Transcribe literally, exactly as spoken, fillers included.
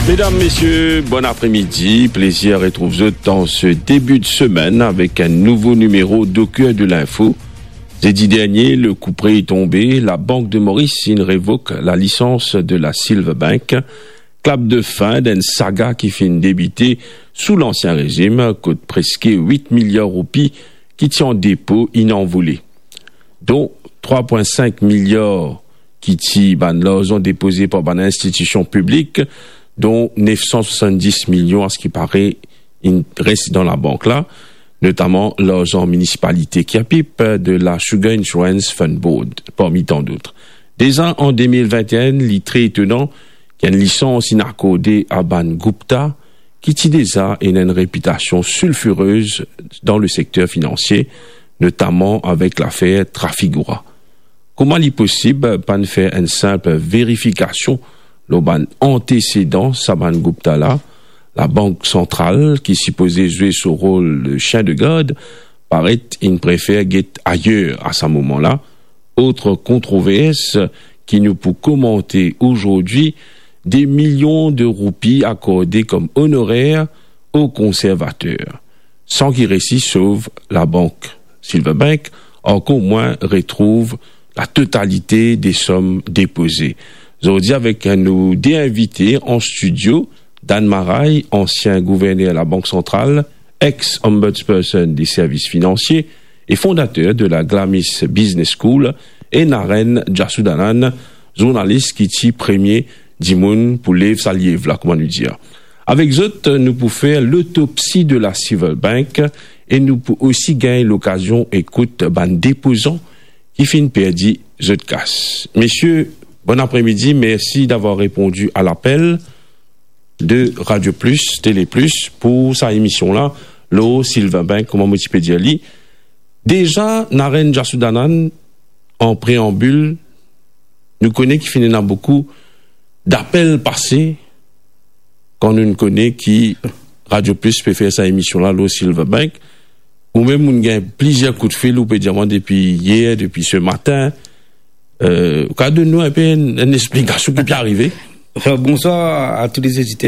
Medam, mesie, bon apremidi. Plezir retrouv zot dan se debi de semenn avek enn nouvo nimero d'Au Cœur de l'Info. Zedi dernie, le coup près est tombé, Labank de Moris inn revok lalisans de la Silver Bank. Klap de fin d'enn saga ki finn debite sou lansien rezim, kot preske wit miliar roupi ki ti an depo inn anvole, don trwa pwin sink miliar ki ti bann larzan depoze par bann institision piblik, don nef san swasann-dis milion, a se ki pare, inn res dan labank la, notaman larzan minisipalite Kirpip de la Sugar Insurance Fund Board, parmi tant d'autres. Deza an de mil vinte-enn, li tre etonan ki enn lisans inn akorde a bann Gupta, ki ti deza ena enn repitasion silfirez dan le sekter finansie, notaman avek lafer Trafigura. Kouma li posib pa'nn fer enn sinp verifikasion lor bann antesedan sa bann Gupta la? Labank Santral, ki sipoze zwe so rol de sien de gard, paret inn prefer get ayer a sa moman la. Ot kontrovers ki nou pou komante azordi, de milion de roupi akorde kom onorer o konservater, san ki resi sov labank Silver Bank, ankor mwin retrouv latotalite de som depoze. Zordi avek nou de invite an stidio, Dan Maray, ansien gouverner Labank Santral, ex-ombudsperson de servis finansie e fondater de la Glamis Business School, e Naren Jasudhanan, zournalis ki ti premie dimoun pou lev sa liev la, kouma nou dir. Avek zot, nou pou fer lotopsi de la Silver Bank e nou pou osi gagn lokazion ekout bann depozan ki finn perdi zot kas. Mesie, bon apremidi, mersi davwar reponn a lapel de Radio Plus, Télé Plus, pou sa emision la, lor Silver Bank, kouma mo ti pe dir li. Deza, Naren Jasudhanan, an preanbil, nou kone ki finn ena boukou dapel pase, kan nou kone ki Radio Plus pe fer sa emision la lor Silver Bank, ou mem ou gagn plizier koudfil, ou pe dir mwa depi yer, depi se matin, euh, ou kav donn nou enpe enn, enn explikasion ki pe arive? Enfin, bonsoir à tous les auditeurs.